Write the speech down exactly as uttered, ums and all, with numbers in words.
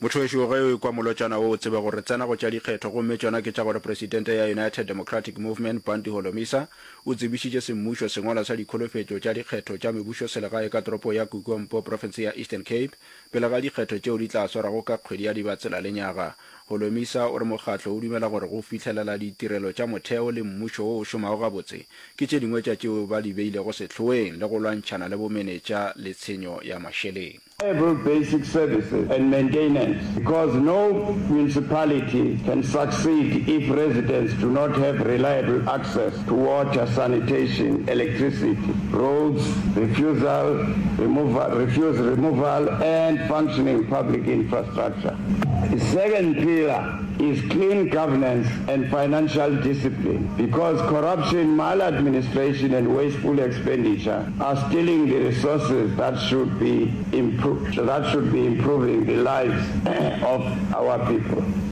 Motho wešo, ge o ekwa molotšana wo o tsebe gore re tsena go tša dikgetho, gomme tšona ke tša gore Presidente ya United Democratic Movement, Bantu Holomisa, o tsebišitše semmušo sengwalwa sa dikholofetšo tša dikgetho tša mebušoselegae ka toropo ya Kukompo, profense ya Eastern Cape, pele ga dikgetho tšeo di tla swarwago ka kgwedi ya Dibatsela lenyaga. Holomisa o re mokgatlo o dumela gore go fihlelela ditirelo tša motheo le mmušo wo o šomago gabotse ke tše dingwe tša tšeo ba di beilego sehloeng le go lwantšhana le bomenetša le tshenyo ya mašeleng. Reliable basic services and maintenance because no municipality can succeed if residents do not have reliable access to water, sanitation, electricity, roads, refusal, removal, refuse removal and functioning public infrastructure. The second pillar is clean governance and financial discipline because corruption, maladministration and wasteful expenditure are stealing the resources that should be that should be improving the lives of our people.